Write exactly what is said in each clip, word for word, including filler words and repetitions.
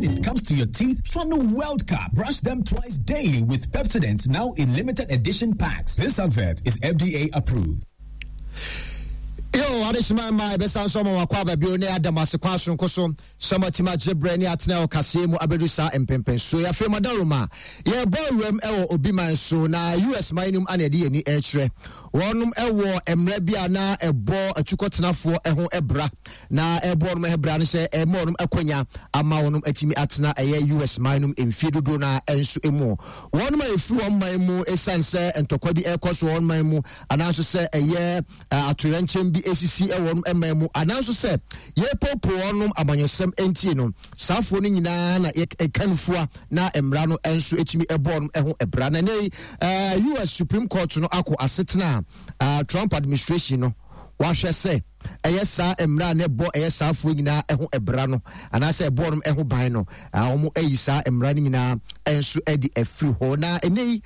When it comes to your teeth, Fanu World Cup. Brush them twice daily with Pepsodent now in limited edition packs. This advert is F D A approved. Yo, adehyema ma ɛbɛsa nso ama wakɔ aba bio ne adam ase kwan soronko so sɛ matumi agye berɛ ne atena wɔ kaseɛ mu abɛdu saa mpempɛnsuo. Afei madaroma yɛbɔ awuram ɛwɔ obi man so na U S man no mu ana yɛde yɛni ɛkyerɛ wɔnom ɛwɔ mmerɛ bi a na ɛbɔ atukɔtenafoɔ ɛho ɛbra na ɛbɔ wɔnom ɛbra no sɛ ɛma wɔnom akwanya ama wɔnom atumi atena ɛyɛ U S man no mu mfie dodoɔ no ɛnso mu. Wɔnom a ɛfiri wɔn man mu ɛsiane sɛ ntɔkwa bi ɛkɔ so wɔn man mu anaasɔ sɛ ɛyɛ atoyerɛnkyɛm bi esisi ɛwɔ wɔn man mu anaasɔ sɛ yɛpopo wɔnom amanyɔsɛm ntie no, saafoɔ no nyinaa na yɛka nufua na mmara no nso etumi ɛbɔ wɔn ɛho ɛbra. Na ne ɛɛ U S Supreme Court no akɔ asetena a Trump administration no wahwɛ sɛ ɛyɛ saa mmara a ɛbɔ ɛyɛ saafoɔ nyinaa ɛho ɛbra no anaasɛ ɛbɔ no ɛho ban no, wɔn ayi saa mmara no nyinaa nso ɛde afiri hɔ. Na ɛnɛ yi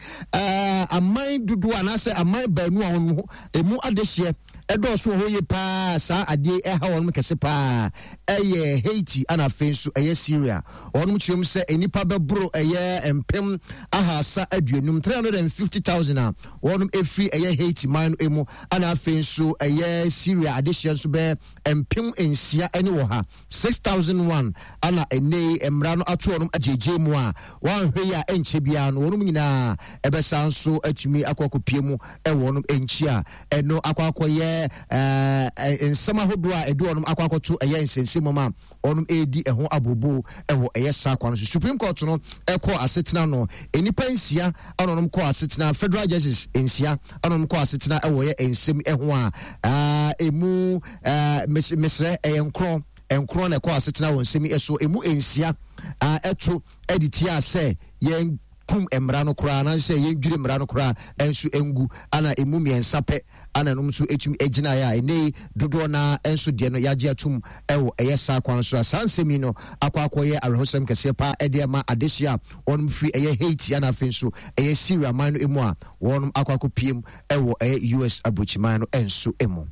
aman dodoɔ anaasɛ aman baanu a wɔn emu adehyeɛ ɛdɔɔso wɔ hɔ yie paa, saa adeɛ ɛha wɔn kɛse paa ɛyɛ Haiti ɛna afei nso ɛyɛ Syria. Wɔn kyerɛ mu sɛ nnipa bɛboro ɛyɛ mpem ahasa aduonum, three hundred and fifty thousand a wɔn efiri ɛyɛ Haiti man no mu, ɛna afei nso ɛyɛ Syria adehyeɛ nso bɛyɛ mpem nsia ɛne wɔ ha, six thousand one, ɛna ɛnɛ mmara no ato wɔn agyegye mu a wɔanhwɛ yi a ɛnkyɛ biara no wɔn nyinaa ɛbɛsa nso atumi akɔ akɔpie mu ɛwɔ wɔn nkyi a ɛno akɔ akɔyɛ ɛɛ nsɛm ahodoɔ a ɛde wɔn akɔ akɔto ɛyɛ nsɛnsɛm mu a wɔn ɛredi ɛho abobo ɛwɔ ɛyɛ saa kwan so. Supreme Court no ɛkɔ asetena no, nnipa nsia ɛna wɔn kɔ asetena, federal judges nsia ɛna wɔn kɔ asetena ɛwɔ ɛyɛ nsɛm ɛho a ɛɛ emu ɛɛ mesrɛ ɛyɛ nkorɔ nkorɔ na ɛkɔ asetena wɔ nsɛm ɛso. Emu nsia ɛto ɛde tia sɛ yɛn kum mmara no koraa anaasɛ yɛndwiri mmara no koraa ɛnso ngu, ana emu mmiɛnsa pɛ ana ɛnom nso ɛtumi gyinaeɛ a ɛnɛ dodoɔ naa nso deɛ no yɛagye atum ɛwɔ ɛyɛ saa kwan so a saa nsɛm yi no akɔ akɔyɛ awerɛhosɛm kɛseɛ paa ɛde ama adehyeɛ a wɔnom firi ɛyɛ Haiti ana afei nso ɛyɛ Syria man no mu a wɔnom akɔ akɔpiem ɛwɔ ɛyɛ U S aburokyiman no ɛnso mu.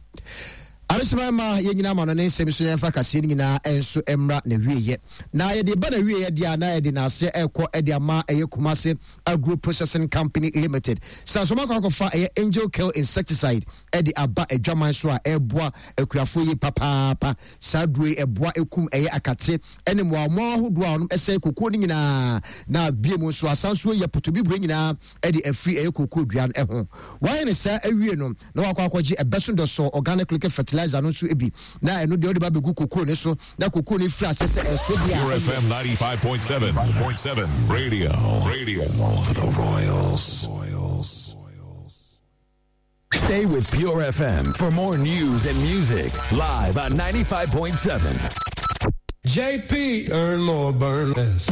Adehyema ma yɛn nyinaa ma no ne nsɛm so yɛmfa kaseɛ no nyinaa nso mmra na wieyɛ na yɛde ba na wieyɛ deɛ a na yɛde n'aseɛ ɛrekɔ ɛde ama ɛyɛ Kumase Agro Processing Company Limited sɛ asɔmɔ akɔ akɔfa ɛyɛ Angel Kill insecticide ɛde aba adwaman so a ɛreboa akuafoɔ yi papaapa. Saa duro yi ɛboa ekum ɛyɛ akate ɛne mmoamoa ahodoɔ a wɔn ɛsɛe kokuo no nyinaa, na bie mu nso asan so yɛ potobibire nyinaa ɛde afiri ɛyɛ kokuo dua no ɛho. Wɔayɛ ne saa awie no na wakɔ akɔgye ɛbɛso dɔsɔ organic liquid fertilizer no nso bi, na ɛno deɛ ɔde ba bɛgu kokuo ne so na kokuo no firi ase sɛ ɛso deɛ. Pure F M ninety-five point seven. Radio. Radio for the Royals. Royals. Stay with Pure F M for more news and music live on ninety-five point seven. J P, earn more, burn less.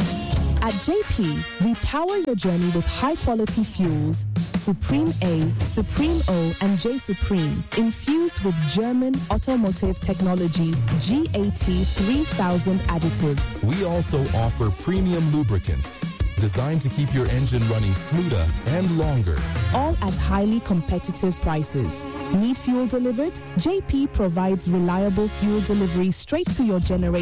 At J P, we power your journey with high quality fuels Supreme A, Supreme O, and J Supreme, infused with German automotive technology G A T three thousand additives. We also offer premium lubricants designed to keep your engine running smoother and longer. All at highly competitive prices. Need fuel delivered? J P provides reliable fuel delivery straight to your generator.